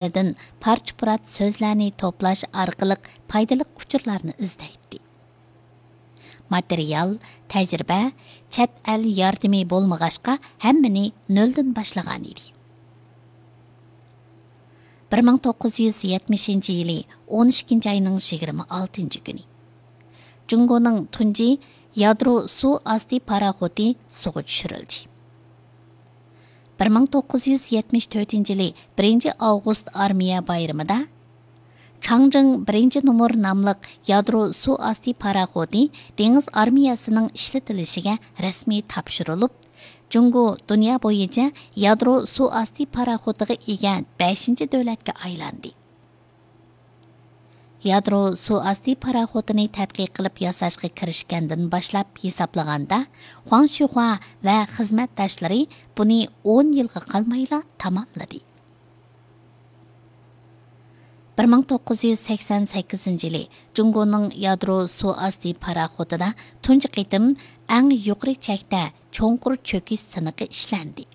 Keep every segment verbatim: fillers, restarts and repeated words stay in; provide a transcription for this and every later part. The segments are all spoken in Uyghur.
يەردىن پارچە-پۇرات سۆزلەرنى توپلاش ئارقىلىق پايدىلىق ئۇچۇرلارنى ئىزدەيتتى. ماتېرىيال، تەجرىبە، چەت ئەل ياردىمى بولمىغاچقا، ھەممىنى نۆلدىن باشلىغانىدى. بىر مىڭ توققۇز يۈز يەتمىشىنچى يىلى ئون ئىككىنچى ئاينىڭ يىگىرمە ئالتىنچى كۈنى جۇڭگونىڭ تۇنجى يادرو سۇ ئاستى پاراخوتى سۇغا چۈشۈرۈلدى. بىر مىڭ توققۇز يۈز يەتمىش تۆتىنچى يىلى بىرىنچى ئاۋغۇست ئارمىيە بايرىمىدا چاڭجىڭ بىرىنچى نومۇر ناملىق يادرو سۇ ئاستى پاراخوتى دېڭىز ئارمىيەسىنىڭ ئىشلىتىلىشىگە رەسمىي تاپشۇرۇلۇپ، جۇڭگو دۇنيا بويىچە يادرو سۇ ئاستى پاراخوتىغا ئىگە بەشىنچى دۆلەتكە ئايلاندى. يادرو سۇ ئاستى پاراخوتىنى تەتقىق قىلىپ ياساشقا كىرىشكەندىن باشلاپ ھېسابلىغاندا، خۇاڭ شۈخۇا ۋە خىزمەتداشلىرى بۇنى ئون يىلغا قالمايلا تاماملىدى. بىر مىڭ توققۇز يۈز سەكسەن سەككىزىنچى يىلى جۇڭگونىڭ يادرو سۇ ئاستى پاراخوتىدا تۇنجى قېتىم ئەڭ يۇقىرى چەكتە چوڭقۇر چۆكۈش سىنىقى ئىشلەندى.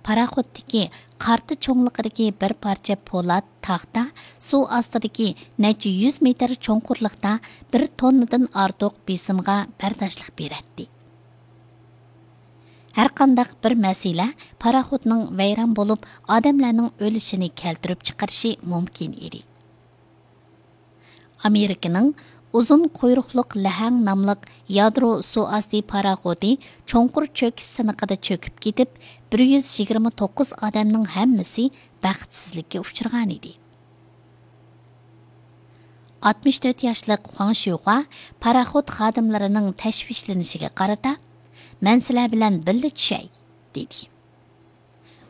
پاراخوتتىكى قارتا چوڭلۇقىدىكى بىر پارچە پولات تاختا سۇ ئاستىدىكى نەچچە يۈز مېتىر چوڭقۇرلۇقتا بىر توننىدىن ئارتۇق بېسىمغا بەرداشلىق بېرەتتى. ھەرقانداق بىر مەسىلە پاراخوتنىڭ ۋەيران بولۇپ، ئادەملەرنىڭ ئۆلۈشىنى كەلتۈرۈپ چىقىرىشى مۇمكىن ئىدى. ئامېرىكىنىڭ ئۇزۇن قۇيرۇقلۇق لەھەڭ ناملىق يادرو سۇ ئاستى پاراخوتى چوڭقۇر چۆكۈش سىنىقىدا چۆكۈپ كېتىپ، بىر يۈز يىگىرمە توققۇز ئادەمنىڭ ھەممىسى بەختسىزلىككە ئۇچرىغانىدى. ئاتمىش تۆت ياشلىق خۇاڭ شۈخۇا پاراخوت خادىملىرىنىڭ تەشۋىشلىنىشىگە قارىتا، «مەن سىلەر بىلەن بىللە چۈشەي» دېدى.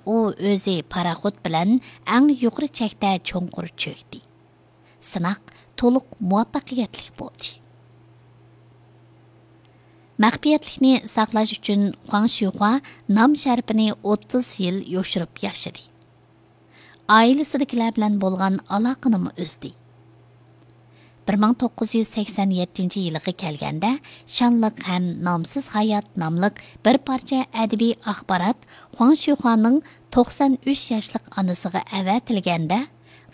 ئۇ ئۆزى پاراخوت بىلەن ئەڭ يۇقىرى چەكتە چوڭقۇر چۆكتى. سىناق تولۇق مۇۋەپپەقىيەتلىك بولدى. مەخپىيەتلىكنى ساقلاش ئۈچۈن خۇاڭ شۈخۇا نام شەرىپىنى ئوتتۇز يىل يوشۇرۇپ ياشىدى. ئائىلىسىدىكىلەر بىلەن بولغان ئالاقىنىمۇ ئۈزدى. بىر مىڭ توققۇز يۈز سەكسەن يەتتىنچى يىلىغا كەلگەندە، شانلىق ھەم نامسىز ھايات ناملىق بىر پارچە ئەدەبىي ئاخبارات خۇاڭ شۈخۇانىڭ توقسان ئۈچ ياشلىق ئانىسىغا ئەۋەتىلگەندە،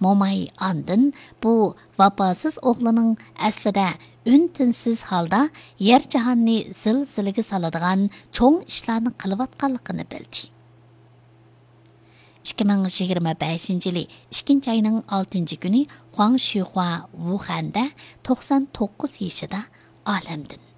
موماي ئاندىن بۇ ۋاپاسىز ئوغلىنىڭ ئەسلىدە ئۈن-تىنسىز ھالدا يەر جاھاننى زىلزىلىگە سالىدىغان چوڭ ئىشلارنى قىلىۋاتقانلىقىنى بىلدى. ئىككى مىڭ يىگىرمە بەشىنچى يىلى ئىككىنچى ئاينىڭ ئالتىنچى كۈنى خۇاڭ شۈخۇا ۋۇخەندە توقسان توققۇز يېشىدا ئالەمدىن